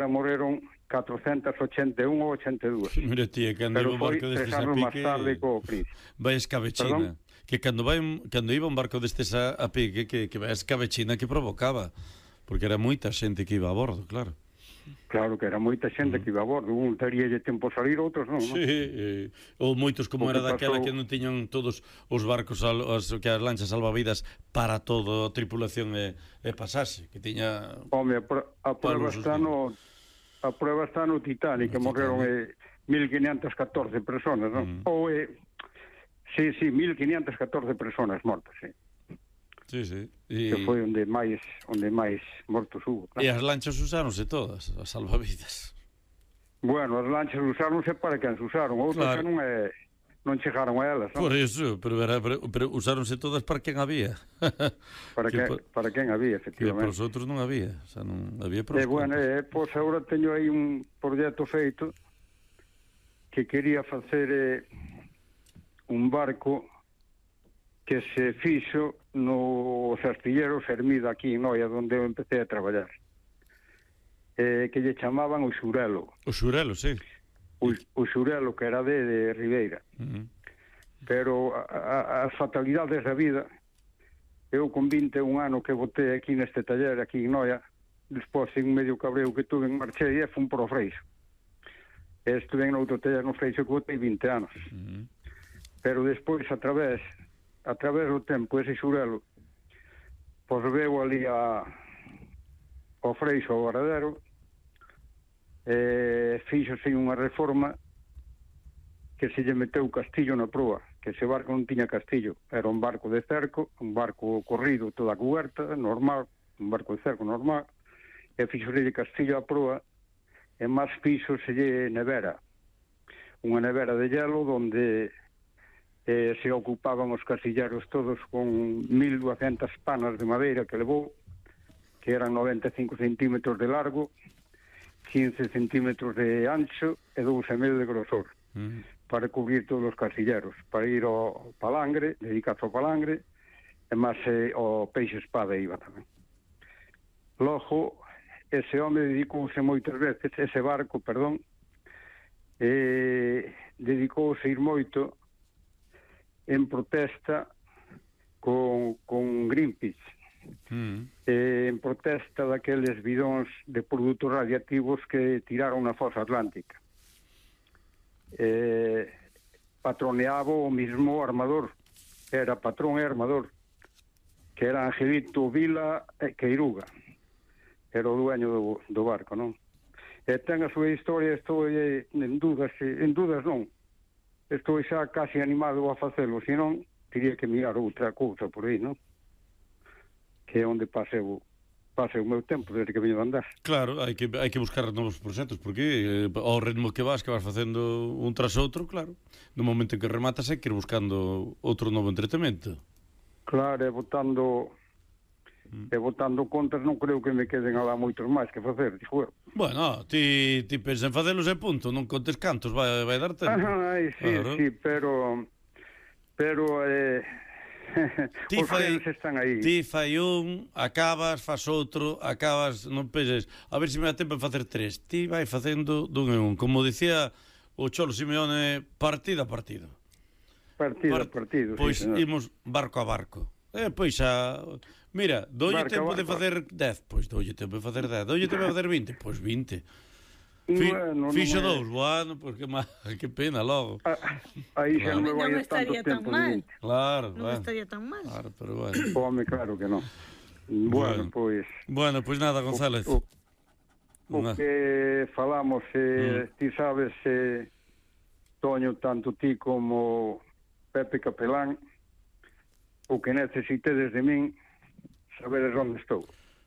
morreron 481 ou 82. Mira, tía, cando iba un barco destes a pique... máis tarde co príncipe. Vai escabechina. Que cando iba un barco destes a pique, que vai escabechina que provocaba. Porque era moita xente que iba a bordo, claro. Claro que era moita xente que iba a bordo. Un teríalle tempo a salir, outros non. Sí, ou moitos como era daquela que non tiñan todos os barcos, que as lanchas salvavidas para toda a tripulación e pasase, que tiña... Home, a prueba está no Titanic, que morreron 1514 personas, non? Ou, sí, 1514 personas mortas, sí. Sí. Que foi onde máis mortos hubo. Claro. E as lanchas usáronse todas, as salvavidas. Bueno, as lanchas usáronse para quen se usaron, outras claro. Que non chegaron a elas, non? Por iso, pero usáronse todas para quen había. para quen había, efectivamente. Que para os outros non había, o sea, non había para os bueno, pois agora teño aí un proxecto feito que quería facer un barco que se fixo nos astilleros Hermida aquí en Noia, onde eu empecé a traballar, que lle chamaban o Xurelo. O Xurelo, sí. O Xurelo, que era de Ribeira. Pero as fatalidades da vida, eu con 21 anos que botei aquí neste taller, aquí en Noia, despois en medio cabreo que tuve en Marchei, fun por o Freixo. Estuve en outro taller no Freixo que botei 20 anos. Pero despois, a través do tempo, ese Xurelo, pois veu ali ao Freixo, ao Varadero, fíxose unha reforma que se lle meteu castillo na proa, que ese barco non tiña castillo, era un barco de cerco, un barco corrido toda a cuberta, normal, un barco de cerco normal, e fíxose castillo a proa, e máis fíxose nevera, unha nevera de hielo onde se ocupaban os casilleros todos con 1200 panas de madeira que levou, que eran 95 centímetros de largo, 15 centímetros de ancho e 2,5 de grosor, para cubrir todos os casilleros, para ir ao palangre, dedicarse ao palangre, e máis ao peixe espada iba tamén. Logo, ese home dedicouse moitas veces, ese barco, dedicouse a ir moito en protesta con Greenpeace, en protesta daqueles bidóns de produtos radiactivos que tiraron na fosa atlántica. Patroneaba o mismo armador, era patrón e armador, que era Angelito Vila Queiruga, era o dueño do barco, non? E ten a súa historia, estou en dudas non, estou xa casi animado a facelo, senón teria que mirar outra cousa por aí, non? Que é onde pase o meu tempo desde que veño de andar. Claro, hai que buscar novos proxectos, porque ao ritmo que vas facendo un tras outro, claro, no momento en que rematas hai que ir buscando outro novo entretenimento. Claro, e botando contas non creo que me queden alá moitos máis que facer, dixo eu. Bueno, ti pensa en facelos e punto, non contes cantos, vai dar tempo. Sí, pero os frenos están aí. Ti fai un, acabas, fas outro, acabas, non penses, a ver se me dá tempo en facer 3. Ti vai facendo dun en un, como dicía o Cholo Simeone, partido a partido. Partido, pois sí, imos barco a barco. Pois xa, mira, doulle tempo de facer 10, pois doulle tempo de facer 10, doulle tempo de facer 20, pois 20. Fixo 2, bueno, pois que pena logo. Aí xa non me vai tanto tempo. Claro, non estaría tan mal. Claro, pero bueno. Home, claro que non. Bueno, pois nada, González. O que falamos, ti sabes, Toño, tanto ti como Pepe Capelán, o que necesitedes de min, sabedes onde estou.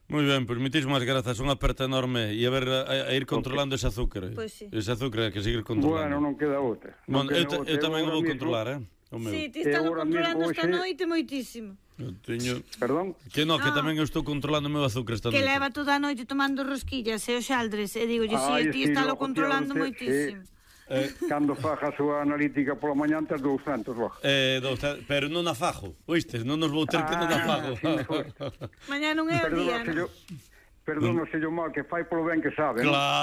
Moi ben, pois moitísimas grazas, unha aperta enorme e a ir controlando ese azúcar. Pois sí. Ese azúcar que seguir controlando. Bueno, non queda outra. Bueno, eu tamén o vou controlar, Sí, ti estás controlando esta noite moitísimo. Perdón? Que tamén eu estou controlando o meu azúcar esta noite. Que leva toda a noite tomando rosquillas e os xaldres, e digo, ti estás controlando moitísimo. Cando faja a súa analítica pola mañá antes 200 logo. Pero non a fajo, oístes? Non nos vou ter que non a fajo. Mañá non é o día, non? Perdónaselle o mal que fai polo ben que sabe, claro.